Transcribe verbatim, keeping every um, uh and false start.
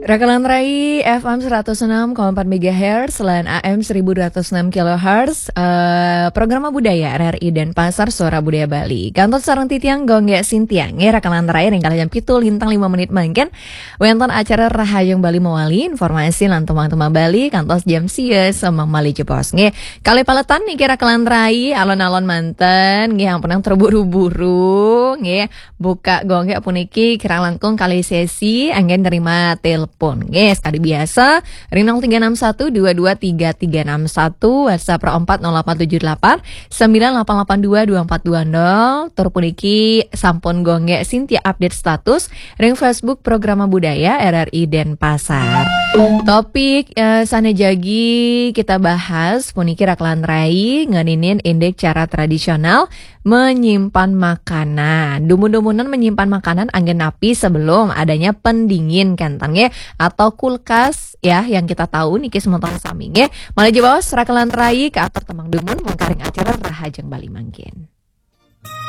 Rakalan Rai F M seratus enam koma empat megahertz, lan A M seribu dua ratus enam kilohertz, eh, Programa Budaya R R I Denpasar, Suara Budaya Bali. Kantos sareng titiang Gonggek Sintiang, nggih, Rakalan Rai, ring kalih jam pitu lintang lima menit mangkin. Wénten acara Rahajeng Bali mawali, informasi lan tembang-tembang Bali, kantos jam sia semeng malih jebos, nggih. Kalih paletan niki Rakalan Rai, alon-alon manten, nggih, ampunang terburu-buru, nggih. Buka Gonggek puniki kirang langkung kalih sesi, anggén nerima telepon. Nggih, sekadi biasa, ring nol tiga enam satu dua dua tiga tiga enam satu, WhatsApp ro empat nol delapan tujuh delapan sembilan delapan delapan dua dua empat dua nol. Tur puniki sampun Gonggek Sintia update status ring Facebook Programa Budaya R R I Denpasar. Topik, eh, sané jagi kita bahas puniki Rakalan Rai ngeninin indik cara tradisional menyimpan makanan. Dumun-dumunan menyimpan makanan anggén napi sebelum adanya pendingin, kénten nggih, atau kulkas ya, yang kita tahu niki semeton sami nggih. Malih jebos Rakalan Rai kaatur tembang dumun mungkaring acara Rahajeng Bali mangkin.